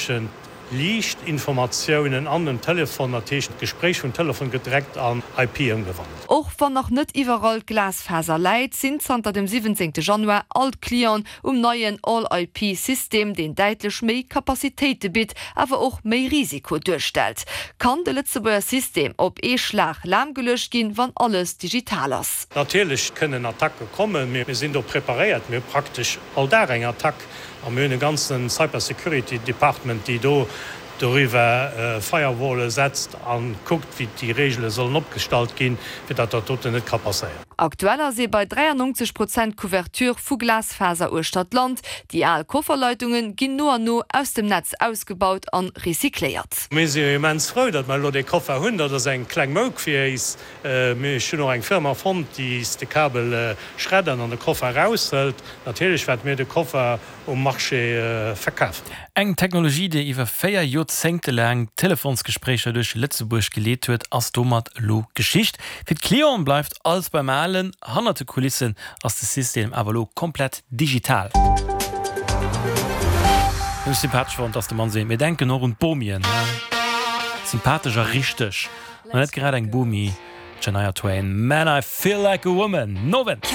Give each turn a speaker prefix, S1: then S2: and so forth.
S1: Tëschent liicht Informatiounen an dem Telefon, dat heescht d'Gespréich vum Telefon gëtt direkt an IP ëmgewandelt.
S2: Och wann nach net iwwerall d'Glasfaser läit, sinn zanter dem 17 Januar all d'Clienten um neien All-IP-System, deen däitlech méi Capacitéite bitt, awer och méi Risiko duerstellt. Kann de Lëtzebuerger System op ee Schlag lahmgeluecht ginn, wann alles digital ass?
S1: Natierlech kënnen Attacke kommen, mee mir sinn do preparéiert. Mir hu praktesch all Dag eng Attack A mir hunn e ganzen Cyber Security Department, déi do doriwwer Firewallen setzt a kuckt, wéi déi Regele sollen opgestallt ginn, fir datt dat doten net ka passéieren.
S2: Aktuell ass ee bei 93 Prozent Couverture vu Glasfaser uechter d'Land. Déi al Kofferleitunge ginn no an no aus dem Netz ausgebaut an recycléiert.
S1: Mir si jo immens frou, datt mer elo dee Koffer hunn. Dat ass eng kleng Mouk fir éis. Mee ech hunn och eng Firma fonnt, déi is de Kabel schreddert an de Koffer eraushëlt. Natierlech wäerte mir de Koffer um Marché verkafen.
S3: Eng Technologie, déi iwwer 4 Joerzéngte laang Telefonsgespréicher duerch Lëtzebuerg geleet huet, ass domat elo Geschicht. Fir d'Clienten bleift alles beim Alen, hannert de Kulissen ass de System awer elo komplett digital. Hunn ech sympathesch fonnt, dass de Mann seet, mir denken och un d'Bomien. Sympathesch a richteg. An net grad eng Bomi, d'Shania Twain, Man I Feel Like a Woman. Nowend!